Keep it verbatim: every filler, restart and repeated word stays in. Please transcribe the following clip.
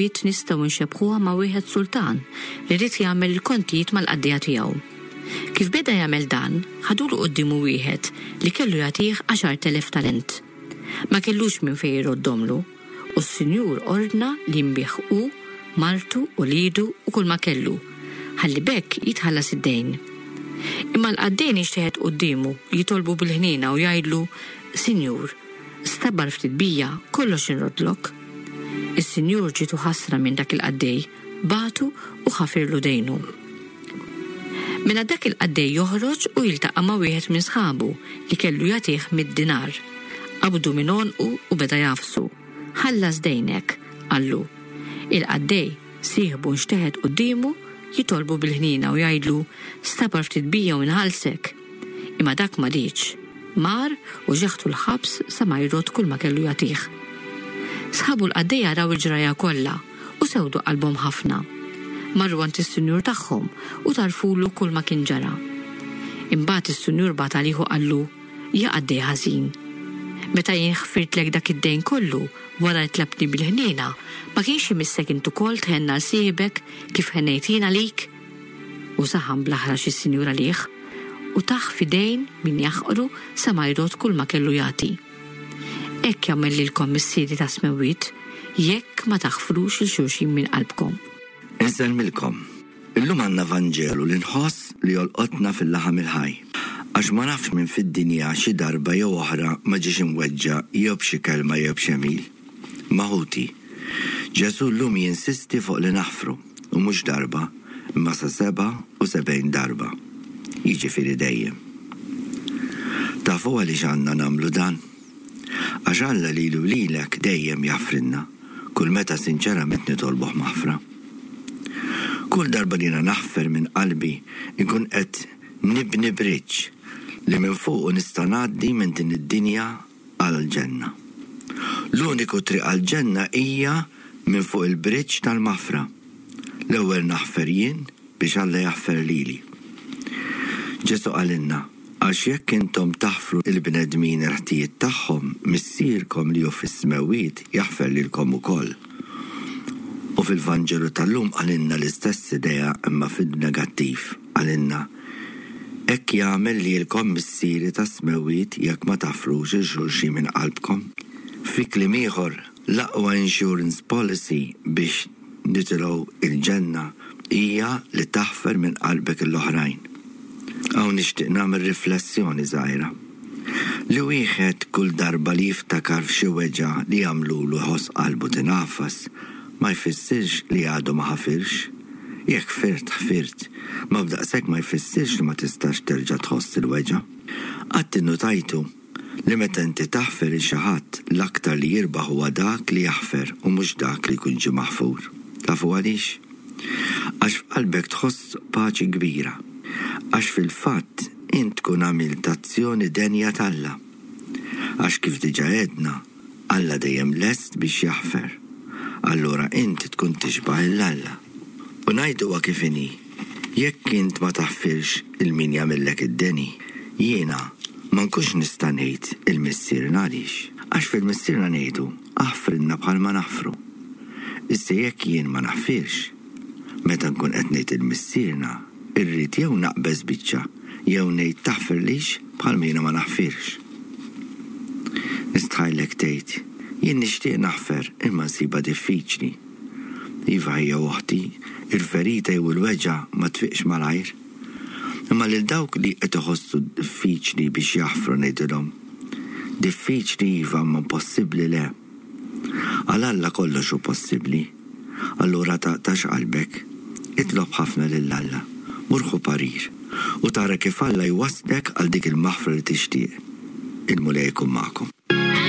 Tas-smewwiet nistgħu nxebbhuha ma' wieħed sultan li ried jagħmel il-kontijiet mal-qaddejja tiegħu. Kif beda jagħmel dan, ħadulu quddiemu wieħed li kellu jagħtih għaxart elef talent. Ma kellux minn fejn iroddomlu, u s-sinjur ordna li jinbiegħ hu, martu u wliedu u kull ma kellu, ħalli b'hekk jitħallas id-dejn. Imma l-qaddej inxteħet quddiemu jitolbu bil-ħniena u jgħidlu, Sinjur, stabar ftit bija, kollox inrodlok. Is-sinjur ġietu ħasra minn dak il-qaddej, bagħtu u ħafirlu dejnu. Mela dak il-qaddej joħroġ u jiltaqa' ma' wieħed minn sħabu li kellu jagħtih mitt dinar. Qabdu minn għonqu u beda jagħfsu. Ħallas dejnek, qallu. Il-qaddej sieħbu nxteħet quddiemu jitolbu bil-ħniena u jgħidlu stabar ftit bija u nħallsek. Imma dak ma riedx. Mar u xeħtu l-ħabs sa ma jrodd kull ma kellu jagħtih. Sħabu l-qaddejja raw il-ġraja kollha u sewdu qalbhom ħafna. Marru għand is-sinjur tagħhom u tarfulu kull ma kien ġara. Imbagħad is-sinjur bagħat għalih u qallu, ja qaddej ħażin. Meta jien ħfirtlek dak id-dejn kollu wara li tlabtni bil-ħniena, ma kienx imissek int ukoll tħenn għal sieħbek kif ħennejt jien għalik? U saħan bl-aħrax is-sinjur għalih u tah f'idejn min jaħqru sa ma jrodd kull ma kellu jagħti. Hekk jagħmel lilkom Missieri tas-smewwiet jekk ma taħfrux lil xulxin minn qalbkom. Insellmilkom. Illum għandna Vanġelu li nħoss li jolqotna fil-laħam il-ħaj. Għax ma nafx min fid-dinja xi darba jew oħra ma ġiex imweġġa' jew b'xi kelma jew b'xi għemil. Imma ħuti, Ġesù llum jinsisti fuq li naħfru, u mhux darba, imma sa sebgħa u sebgħin darba. Jiġifieri dejjem. Tafu għaliex għandna nagħmlu dan? Għax Alla lilu lilek dejjem jaħfrilna, kull meta sinċerament nitolbuh maħfra. Kull darba li jiena naħfer minn qalbi, inkun qed nibni bridge li minn fuqu nista' ngħaddi minn din id-dinja għall-ġenna. L-uniku triq għall-ġenna hija minn fuq il-bridge tal-maħfra. L-ewwel naħfer jien biex Alla jaħfer lili. Ġesù qalilna, għax jekk intom taħfru il-bnedmin il-ħtijiet tagħhom, Missierkom li hu fis-smewwiet jaħfer lilkom ukoll. U fil-Vanġelu tal-lum qalilna l-istess idea imma fil-negattiv. Qalilna, hekk jagħmel lilkom Missieri tas-smewwiet jekk ma taħfrux lil xulxin minn qalbkom. Fi kliem ieħor, l-aqwa insurance policy biex nitilgħu il-ġenna hija li taħfer minn qalbek l-oħrajn. Hawn nixtieq nagħmel riflessjoni żgħira. Li wieħed kull darba li jiftakar f'xi weġgħa li jagħmlulu jħoss qalbu tingħafas, ma jfissirx li għadu ma ħafirx. Jekk ħfirt, ħfirt, ma b'daqshekk ma jfissirx li ma tistax terġa' tħoss il-weġgħa. Qatt innutajtu li meta inti taħfer lil xi ħadd, l-aktar li jirbaħ huwa dak li jaħfer u mhux dak li jkun ġie maħfur. Tafu għaliex? Għax f'qalbek tħoss paċi kbira. Għax fil-fatt int tkun għamilt azzjoni denja t'Alla. Għax kif diġà għedna, Alla dejjem lest biex jaħfer. Allura int tkun tixbah lil Alla. U ngħiduha kif inhi, jekk int ma taħfirx lil min jagħmillek id-deni, jiena ma nkunx nista' ngħid il-Missierna għaliex. Għax fil-Missierna ngħidu aħfrilna bħalma naħfru. Issa jekk jien ma naħfirx, meta nkun qed ngħid il-Missierna, irrid jew naqbeż biċċa, jew ngħid taħfirlix bħalma jiena ma naħfirx. Nistħajlek tgħid, jien nixtieq naħfer imma nsibha diffiċli. Iva ħija oħti, il-ferita jew il-weġgħa ma tfiqx malajr. Imma lil dawk li qed iħossu diffiċli biex jaħfru ngħidilhom, diffiċli iva imma impossibbli le. Għal Alla kollox hu possibbli. Allura taqtax qalbek, itlob ħafna lil Alla, mur ħu parir u tara kif Alla jwasslek għal dik il-maħfra li tixtieq. Il-Mulej jkun magħkom.